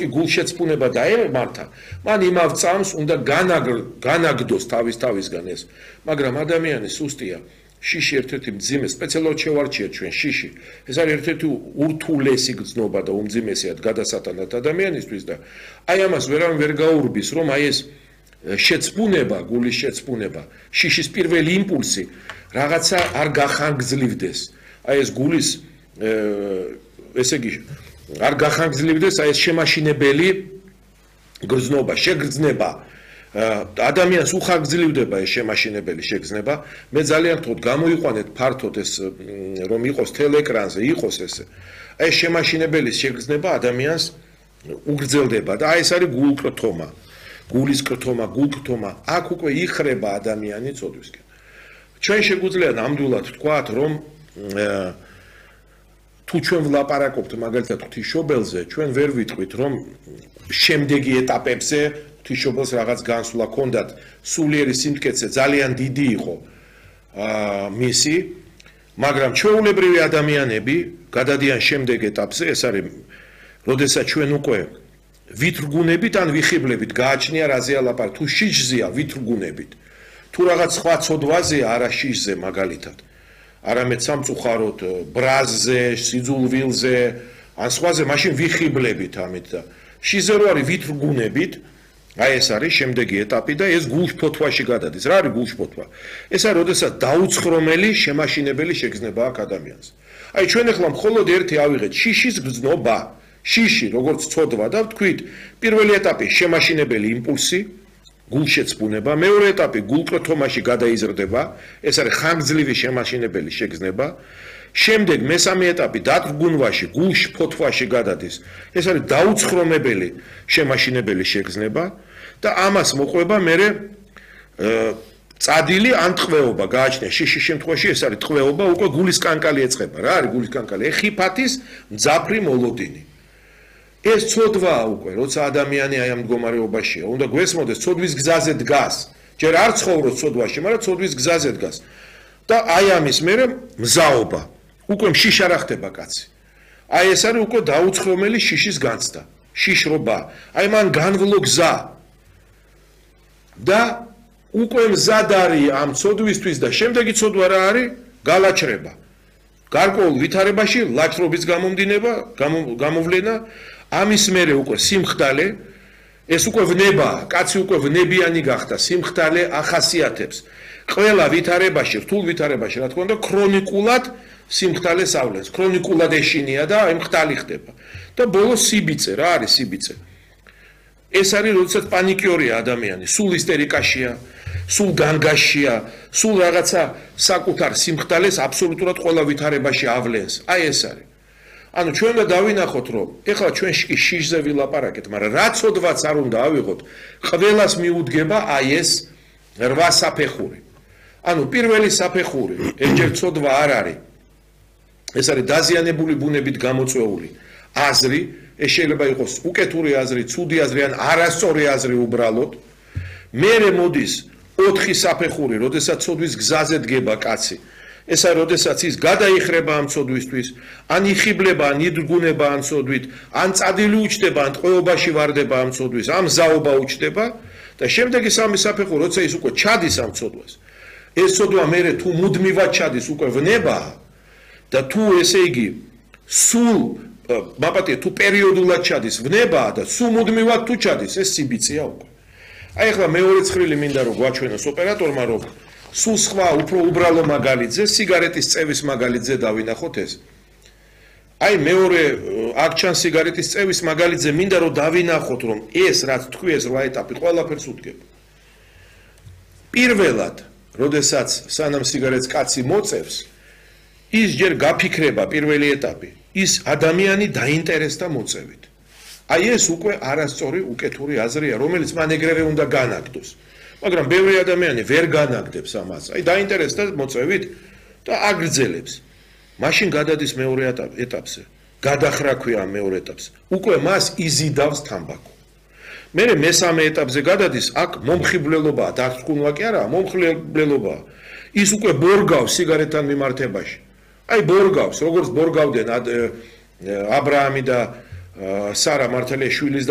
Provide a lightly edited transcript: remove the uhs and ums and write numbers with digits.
კი გულშეცფუნება დაემართა, მან იმავ წამს უნდა განაგდოს თავისგან ეს. მაგრამ ადამიანი სუსტია. შიში ერთ-ერთი მძიმე, სპეციალურად შევარჩიეთ ჩვენ შიში. ეს არის ერთ-ერთი ურთულესი გრძნობა და უმძიმესიად გადასატანად ადამიანისთვის და აი ამას ვერავინ ვერ გაურბის, რომ აი ეს შეცფუნება, გულის შეცფუნება, შიშის პირველი იმპულსი რაღაცა არ გახანგრძლივდეს. აი ეს გულის ესე იგი არ გახანგრძლივდეს აი ეს შემაშინებელი გრძნობა, შეგრძნება. ადამიანს უხანგრძლივდება ეს შემაშინებელი შეგრძნება. მე ძალიან ვთქვი, გამოიყვანეთ ფართოდ ეს რომ იყოს თელეკრანზე, იყოს ესე. აი ეს შემაშინებელი შეგრძნება ადამიანს უგრძელდება და აი ეს არის გულკრთომა. გულის კრთომა, გულკრთომა, აქ უკვე იხრება ადამიანი წოდვისკენ. ჩვენ შეგვიძლია ნამდვილად ვთქვათ, რომ თუ ჩვენ ვლაპარაკობთ მაგალითად ღვთისმშობელზე, ჩვენ ვერ ვიტყვით, რომ შემდეგი ეტაპებზე ღვთისმშობელს რაღაც განსვლა ჰქონდათ, სულიერი სიმტკიცე ძალიან დიდი იყო მისი, მაგრამ ჩვეულებრივი ადამიანები გადადიან შემდეგ ეტაპზე, ეს არის, როდესაც ჩვენ უკვე ვითრგუნებით ან ვიხიბლებით გააჩნია რაზეა ლაპარაკი, თუ შიშზეა ვითრგუნებით, თუ რაღაც სხვა ცოდვაზეა არა შიშზე მაგალითად, არამედ სამწუხაროდ ბრაზზე, სიძულვილზე, ან სხვაზე, მაშინ ვიხიბლებით ამით და შიშზე რო არის ვითრგუნებით, აი ეს არის შემდეგი ეტაპი და ეს გულშფოთვაში გადადის. რა არის გულშფოთვა? ეს არის, როდესაც დაუცხრომელი შემაშინებელი შეგრძნება აქვს ადამიანს. აი ჩვენ ახლა მხოლოდ ერთი ავიღეთ შიშის გრძნობა. შიში, როგორც ცოდვა და ვთქვით, პირველი ეტაპი შემაშინებელი იმპულსი, გულშეცფუნება, მეორე ეტაპი გულკრთომაში გადაიზრდება, ეს არის ხანგრძლივი შემაშინებელი შეგრძნება. შემდეგ მესამე ეტაპი დათრგუნვაში, გულშფოთვაში გადადის. ეს არის დაუცხრომებელი შემაშინებელი შეგრძნება და ამას მოყვება მერე წადილი ან ტყვეობა გააჩნია. შიშის შემთხვევაში ეს არის ტყვეობა, უკვე გულის კანკალი ეწყება. რა არის გულის კანკალი? ეხიფათის მძაფრი მოლოდინი. ეს ცოდვაა უკვე, როცა ადამიანი აი ამ მდგომარეობაშია, უნდა გვესმოდეს, ცოდვის გზაზე დგას. ჯერ არ ცხოვრობს ცოდვაში, მაგრამ ცოდვის გზაზე დგას. და აი ამის მერე მზაობა. უკვე შიშ არ ხდება კაცი. აი ეს არის უკვე დაუცხრომელი შიშის განცდა, შიშრობა. აი მან განვლო გზა. და უკვე მზად არის ამ ცოდვისთვის და შემდეგი ცოდვა რა არის? გალაჩრება. გარკვეულ ვითარებაში ლაჩრობის გამოვლენა ამის მერე უკვე სიმხდალე, ეს უკვე ვნებაა, კაცი უკვე ვნებიანი გახდა, სიმხდალე ახასიათებს. ყველა ვითარებაში, რთულ ვითარებაში, რა თქმა უნდა, ქრონიკულად სიმხდალეს ავლენს, ქრონიკულად ეშინია და აი მხდალი ხდება. და ბოლოს სიბიწე, რა არის სიბიწე? ეს არის, როდესაც პანიკიორია ადამიანი, სულ ისტერიკაშია, სულ განგაშია, სულ რაღაცა საკუთარ სიმხდალეს აბსოლუტურად ყველა ვითარებაში ავლენს. აი ეს არის. ანუ ჩვენ უნდა დავინახოთ, რომ ეხლა ჩვენ შიშზე ვილაპარაკეთ, მაგრამ რა ცოდვაც არ უნდა ავიღოთ, ყველას მიუდგება აი ეს 8 საფეხური. ანუ პირველი საფეხური, ერთჯერ ცოდვა არ არის. ეს არის დაზიანებული ბუნებით გამოწვეული აზრი, ეს შეიძლება იყოს უკეთური აზრი, ცუდი აზრი ან არასწორი აზრი უბრალოდ. მერე მოდის 4 საფეხური, როდესაც ცოდვის გზაზე დგება კაცი. ეს არის, როდესაც ის გადაიხრება ამ ცოდვისთვის, ან იხიბლება, ან იდრგუნება ამ ცოდვით, ან წადილი უჩდება, ან ტყვეობაში ვარდება ამ ცოდვის, ამ ზაობა უჩდება და შემდეგი სამი საფეხური, როცა ის უკვე ჩადის ამ ცოდვას. ეს ცოდვა მერე თუ მუდმივად ჩადის, უკვე ვნებაა და თუ ესე იგი სულ მაპატია თუ პერიოდულად ჩადის, ვნებაა და სულ მუდმივად თუ ჩადის, ეს სიბიწეა უკვე. აი ახლა მეორე ცხრილი მინდა რომ გვაჩვენოს ოპერატორმა, რომ სულ სხვა უფრო უბრალო მაგალითზე, სიგარეტის წევის მაგალითზე დავინახოთ ეს. აი მეორე აქ ჩანს სიგარეტის წევის მაგალითზე, მინდა რომ დავინახოთ, რომ ეს რაც თქვი ეს 8 ეტაპი ყველაფერს უდგება. პირველად, როდესაც სანამ სიგარეტს კაცი მოწევს, ის ჯერ გაფიქრება პირველი ეტაპი, ის ადამიანი დაინტერესდა მოწევით. აი ეს უკვე არასწორი უკეთური აზრია, რომელიც მან ეგრევე უნდა განაგდოს. მაგრამ ბევრი ადამიანი ვერ განაგდებს ამას. აი დაინტერესდა მოწევით და აგრძელებს. მაშინ გადადის მეორე ეტაპზე. გადახრაქვია მეორე ეტაპზე. უკვე მას იზიდავს თამბაქო. მერე მესამე ეტაპზე გადადის, აქ მომხიბლელობაა, დათრგუნვა კი არა, მომხიბლელობაა. ის უკვე ბორგავს სიგარეტთან მიმართებაში. აი ბორგავს, როგორც ბორგავდნენ აბრაამი და სარა მართალია შვილის